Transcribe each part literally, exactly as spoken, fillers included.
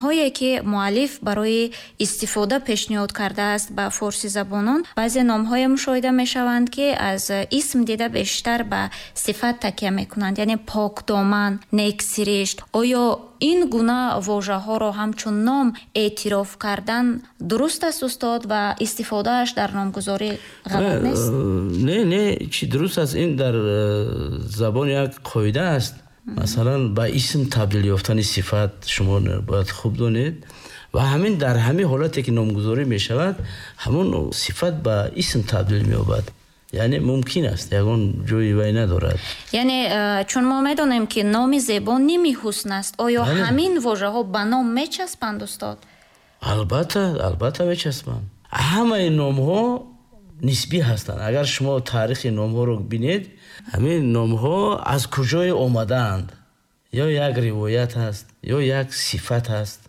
Ҳое ки муаллиф барои истифода пешниҳод кардааст ба форсизабонон, баъзе номҳое мушоҳида мешаванд, ки аз исм дида бештар ба сифат такя мекунанд, яъне покдоман, нексиришт. Оё ин гуна вожаҳоро ҳамчун ном эътироф кардан дуруст аст, устод, ва истифодааш дар номгузорӣ ғалат нест? Не, не, чӣ дуруст аст. Ин дар забон як қоида аст. Масалан, ба исм табдил ёфтани сифат шумо бояд хуб донед ва ҳамин дар ҳамин ҳолате ки номгузорӣ мешавад, ҳамон сифат ба исм табдил меёбад. Яъне мумкин аст, ягон ҷои вай надорад. Яъне чун мо медонем, ки номи зебо ними ҳусн аст, оё ҳамин вожаҳо ба ном мечаспанд, устод? Албатта, албатта мечаспанд. Ҳамаи номҳо нисбӣ ҳастанд. Агар шумо таърихи номҳоро бинед, ҳамин номҳо аз куҷое омадаанд? Ё як ривоят аст, ё як сифат аст.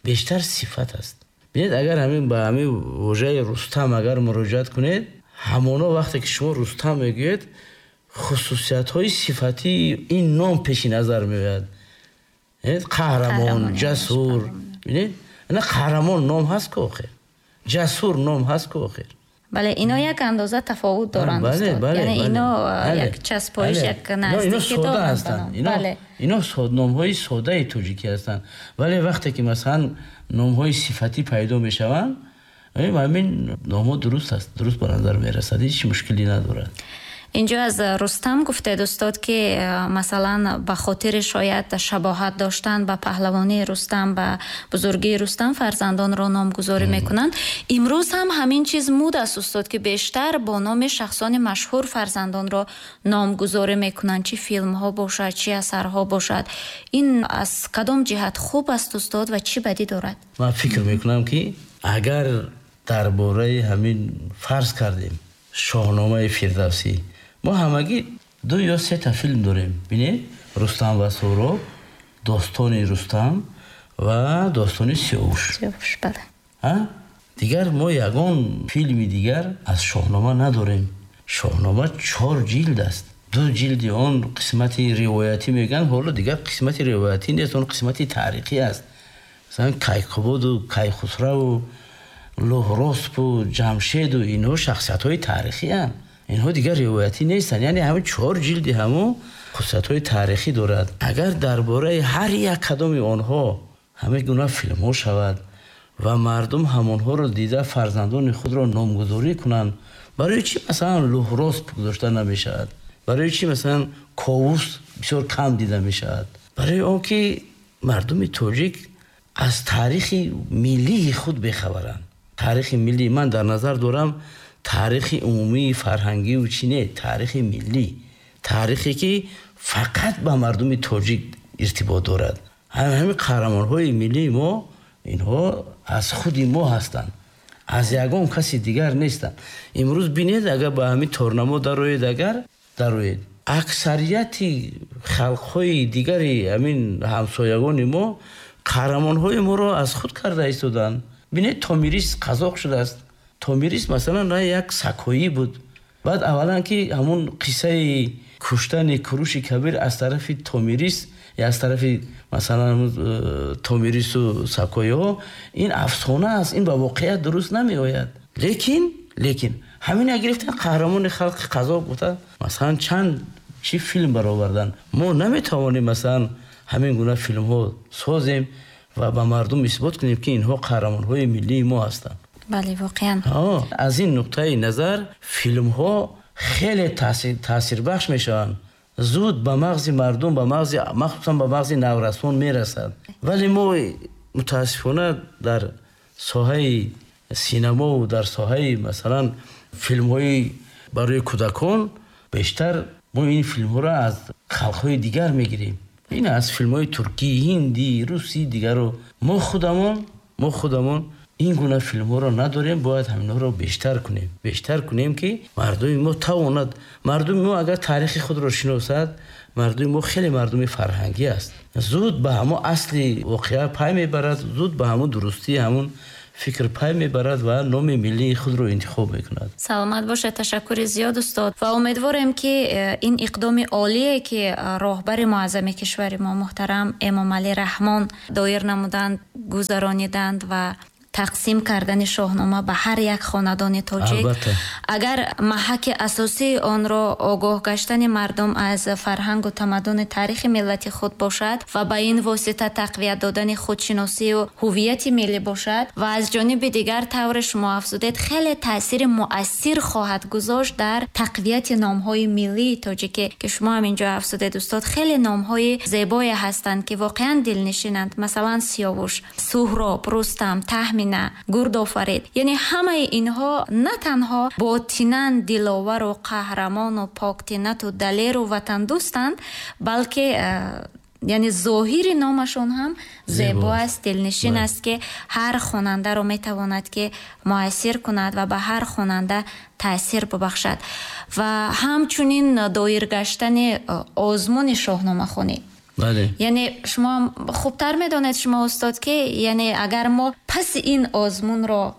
Бештар сифат аст. Бинед, агар ҳамин ба ҳамин вожаи Рустам агар муроҷиат кунед, ҳамоно вақте ки шумо Рустам мегӯед, хусусиятҳои сифатии ин ном пеши назар меояд. Қаҳрамон, ҷасур. Бинед, ина қаҳрамон ном ҳаст ку охир, ҷасур ном ҳаст ку охир. Бале, ино як андоза тафовут доранд, устод. Яъне ино як часпоиш, як наздикӣ доранд. Ино номҳои содаи тоҷикӣ ҳастанд. Вале вақте ки масалан номҳои сифатӣ пайдо мешаванд, ҳамин номҳо дуруст аст, дуруст ба назар мерасад, ҳеҷ мушкилӣ надорад. Инҷо аз Рустам гуфтед, устод, ки масалан ба хотири шояд шабоҳат доштан ба паҳлавонии Рустам, ба бузургии Рустам фарзандонро номгузорӣ мекунанд. Имрӯз ҳам ҳамин чиз муд аст, устод, ки бештар бо номи шахсони машҳур фарзандонро номгузорӣ мекунанд, чӣ филмҳо бошад, чӣ асарҳо бошад. Ин аз кадом ҷиҳат хуб аст, устод, ва чӣ бадӣ дорад? Ман фикр мекунам, ки агар дар бораи ҳамин фарз кардем Шоҳномаи Фирдавсӣ, мо ҳамагӣ ду ё се та филм дорем. Бинед, Рустам ва Суҳроб, достони Рустам ва достони Сиёвуш. Сиёвуш, бале. Дигар мо ягон филми дигар аз Шоҳнома надорем. Шоҳнома чор ҷилд аст. Ду ҷилди он қисмати ривоятӣ мегӯянд, ҳоло дигар қисмати ривоятӣ нест, он қисмати таърихӣ аст. Масалан, Кайқубоду Кайхусраву Луҳроспу Ҷамшеду инҳо шахсиятҳои таърихианд. Инҳо дигар ривоятӣ нестанд. Яъне ҳамин чор ҷилди ҳамон хусусиятҳои таърихӣ дорад. Агар дар бораи ҳар як кадоми онҳо ҳамин гуна филмҳо шавад ва мардум ҳамонҳоро дида фарзандони худро номгузорӣ кунанд, барои чӣ масалан Луҳросп гузошта намешавад? Барои чӣ масалан Ковус бисёр кам дида мешавад? Барои он ки мардуми тоҷик аз таърихи миллии худ бехабаранд. Таърихи миллӣ ман дар назар дорам таърихи умумии фарҳангию чӣ не, таърихи миллӣ, таърихе ки фақат ба мардуми тоҷик иртибот дорад. Ҳамин қаҳрамонҳои миллии мо инҳо аз худи мо ҳастанд, аз ягон каси дигар нестанд. Имрӯз бинед, агар ба ҳамин торнамо дароед, агар дароед, аксарияти халқҳои дигари ҳамин ҳамсоягони мо қаҳрамонҳои моро аз худ карда истоданд. Бинед, Томирис қазоқ шудааст. Томирис масалан як сакоӣ буд. Баъд аввалан ки ҳамун қиссаи куштани Куруши Кабир аз тарафи Томирис ё аз тарафи масалан Томирису сакоиҳо, ин афсона аст, ин ба воқеият дуруст намеояд. Лекин лекин ҳамина гирифтан қаҳрамони халқи қазоқ гуфта масалан чанд чӣ филм баровардан. Мо наметавонем масалан ҳамин гуна филмҳо созем ва ба мардум исбот кунем, ки инҳо қаҳрамонҳои миллии мо ҳастанд. Бале, воқеан. Аз ин нуқтаи назар филмҳо хеле таъсирбахш мешаванд. Зуд ба мағзи мардум, ба мағзи, махсусан ба мағзи наврасон мерасад. Вале мо мутаассифона дар соҳаи синамову дар соҳаи масалан филмҳои барои кӯдакон бештар мо ин филмҳоро аз халқҳои дигар мегирем. Ин аз филмҳои туркӣ, ҳиндӣ, русӣ дигарро. Мо худамон, мо худамон ин гуна филмҳоро надорем, бояд ҳаминҳоро бештар кунем. Бештар кунем, ки мардуми мо тавонад. Мардуми мо агар таърихи худро шиносад, мардуми мо хеле мардуми фарҳангӣ аст. Зуд ба ҳамон асли воқеа пай мебарад, зуд ба ҳамон дурустии ҳамон фикр пай мебарад ва номи миллии худро интихоб мекунад. Саломат бошед, ташаккури зиёд устод. Ва умедворем, ки ин иқдоми олие, ки роҳбари муаззами кишвари мо муҳтарам Эмомалӣ Раҳмон доир намуданд, гузарониданд ва тақсим кардани Шоҳнома ба ҳар як хонадони тоҷик, агар маҳаки асосии онро огоҳ гаштани мардум аз фарҳангу тамаддуни таърихи миллати худ бошад ва ба ин восита тақвият додани худшиносию ҳуввияти миллӣ бошад, ва аз ҷониби дигар, тавре шумо афзудед, хеле таъсири муассир хоҳад гузошт дар тақвияти номҳои миллии тоҷикӣ, ки шумо ҳам инҷо афзудед устод, хеле номҳои зебое ҳастанд, ки воқеан дилнишинанд. Масалан, Сиёвуш, Суҳроб, Рустам, Таҳмина, Гурдофарид. Яъне ҳамаи инҳо на танҳо ботинан диловару қаҳрамону поктинату далеру ватандӯстанд, балки яъне зоҳири номашон ҳам зебо аст, дилнишин аст, ки ҳар хонандаро метавонад, ки муассир кунад ва ба ҳар хонанда таъсир бибахшад. Ва ҳамчунин доир гаштани озмуни шоҳномахонӣ. Бале. Яъне шумо хубтар медонед, шумо устод, ки яъне агар мо паси ин озмунро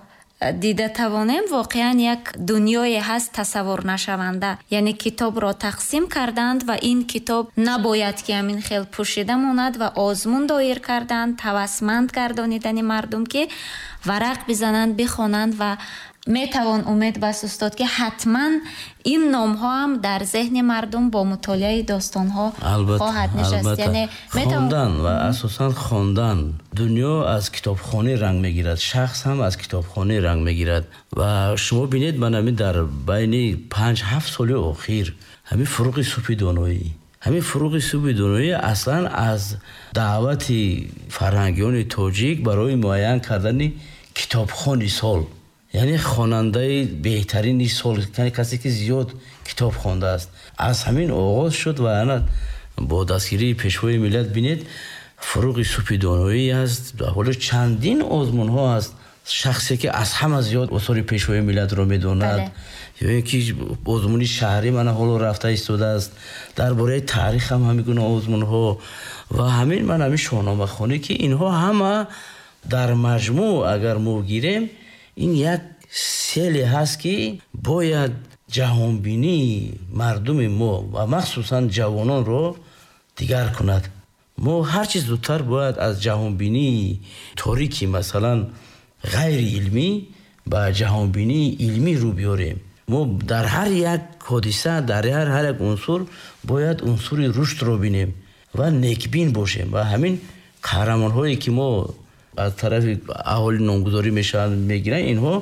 дида тавонем, воқеан як дунёе ҳаст тасаввурнашаванда. Яъне китобро тақсим карданд ва ин китоб набояд ки ҳамин хел пӯшида монад ва озмун доир карданд, ҳавасманд гардонидани мардум, ки варақ бизананд, бихонанд. Ва метавон умед баст устод, ки ҳатман ин номҳо ҳам дар зеҳни мардум бо мутолиаи достонҳо хоҳад нишаст. Яъне хондан ва асосан хондан. Дунё аз китобхонӣ ранг мегирад, шахс ҳам аз китобхонӣ ранг мегирад. Ва шумо бинед, ман ҳамин дар байни панҷ ҳафт соли охир ҳамин фуруғи субҳи доноӣ, ҳамин фуруғи субҳи доноӣ аслан аз даъвати фарҳангиёни тоҷик барои муайян кардани китобхони сол, яъне хонандаи беҳтарини сол, яъне касе ки зиёд китоб хондааст, аз ҳамин оғоз шуд. Ва ана бо дастгирии пешвои миллат бинед, фуруғи субҳи доноӣ аст, ҳоло чандин озмунҳо аст. Шахсе ки аз ҳама зиёд осори пешвои миллатро медонад, ё ин ки озмуни шаҳрӣ мана ҳоло рафта истодааст, дар бораи таърих ҳам ҳамин гуна озмунҳо ва ҳамин ман ҳамин шоҳномахонӣ, ки инҳо ҳама дар маҷмӯъ агар мо гирем, ин як селе ҳаст, ки бояд ҷаҳонбинии мардуми мо ва махсусан ҷавононро дигар кунад. Мо ҳарчи зудтар бояд аз ҷаҳонбинии торики, масалан ғайриилмӣ, ба ҷаҳонбинии илмӣ рӯ биёрем. Мо дар ҳар як ҳодиса, дар ҳар ҳар як унсур бояд унсури рушдро бинем ва некбин бошем. Ва ҳамин қаҳрамонҳое ки мо аз тарафи аҳолӣ номгузорӣ мешаванд, мегиранд, инҳо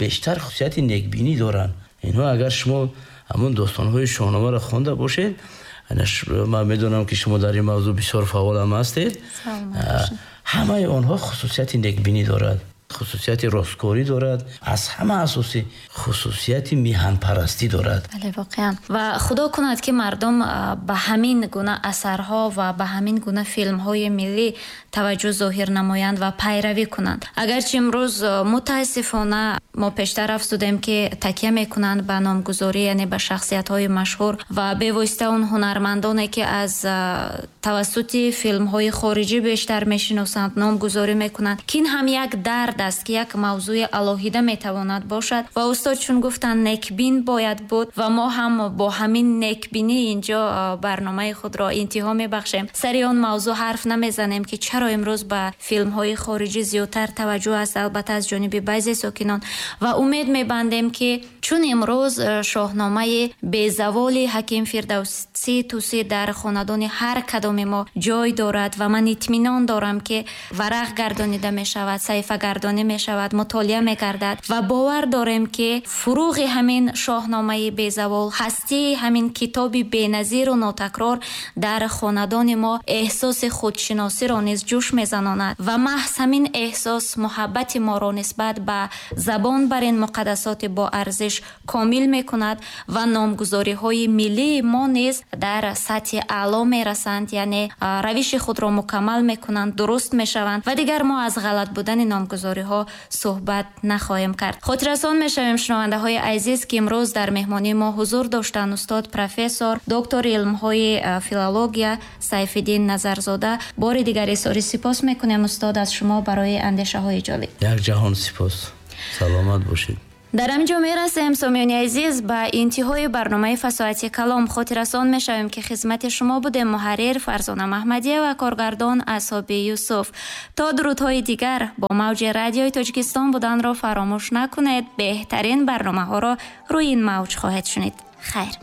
бештар хусусияти некбинӣ доранд. Инҳо агар шумо ҳамон достонҳои шоҳномаро хонда бошед, ман медонам, ки шумо дар ин мавзӯъ бисёр фаъол ҳам ҳастед, ҳамаи онҳо хусусияти некбинӣ дорад, хусусияти росткорӣ дорад, аз ҳама асосӣ хусусияти миҳанпарастӣ дорад. Бале, воқеан. Ва худо кунад, ки мардум ба ҳамин гуна асарҳо ва ба ҳамин гуна филмҳои миллӣ таваҷҷӯҳ зоҳир намоянд ва пайравӣ кунанд. Агарчи имрӯз мутаассифона мо пештар афзудем, ки такя мекунанд ба номгузорӣ, яъне ба шахсиятҳои машҳур ва бевосита он ҳунармандоне, ки аз тавассути филмҳои хориҷӣ бештар мешиносанд, номгузорӣ мекунанд, ки ин ҳам як дард аст, ки як мавзӯи алоҳида метавонад бошад. Ва устод чун гуфтанд, некбин бояд буд ва мо ҳам бо ҳамин некбинӣ инҷо барномаи худро интиҳо мебахшем. Сари он мавзӯъ ҳарф намезанем, ки чаро имрӯз ба филмҳои хориҷӣ зиёдтар таваҷҷӯҳ аст, албатта аз ҷониби баъзе сокинон. Ва умед мебандем, ки чун имрӯз шоҳномаи безаволи ҳаким Фирдавсӣ Тӯсӣ дар хонадони ҳар кадоми мо ҷой дорад ва ман итминон дорам, ки варақ гардонида мешавад, саҳифа гардонӣ мешавад, мутолиа мегардад ва бовар дорем, ки фуруғи ҳамин шоҳномаи безавол, ҳастии ҳамин китоби беназиру нотакрор дар хонадони мо эҳсоси худшиносиро низ ҷӯш мезанонад ва маҳз ҳамин эҳсос муҳаббати моро нисбат ба забон бар ин муқаддасоти боарзиш равиш комил мекунад ва номгузориҳои миллии мо низ дар сатҳи аъло мерасанд, яъне равиши худро мукаммал мекунанд, дуруст мешаванд ва дигар мо аз ғалат будани номгузориҳо суҳбат нахоҳем кард. Хотиррасон мешавем, шунавандаҳои азиз, ки имрӯз дар меҳмонии мо ҳузур доштанд устод профессор, доктори илмҳои филология Сайфиддин Назарзода. Бори дигар изҳори сипос мекунем, устод, аз шумо барои андешаҳои ҷолиб. Як ҷаҳон сипос. Саломат бошед. Дар ҳамин ҷо мерасем, сомиёни азиз, ба интиҳои барномаи Фасоҳати калом. Хотиррасон мешавем, ки хизмати шумо будем муҳаррир Фарзона Маҳмадия ва коргардон Асҳоби Юсуф. То дурудҳои дигар бо мавҷи радиои Тоҷикистон буданро фаромӯш накунед. Беҳтарин барномаҳоро рӯи ин мавҷ хоҳед шунид. Хайр.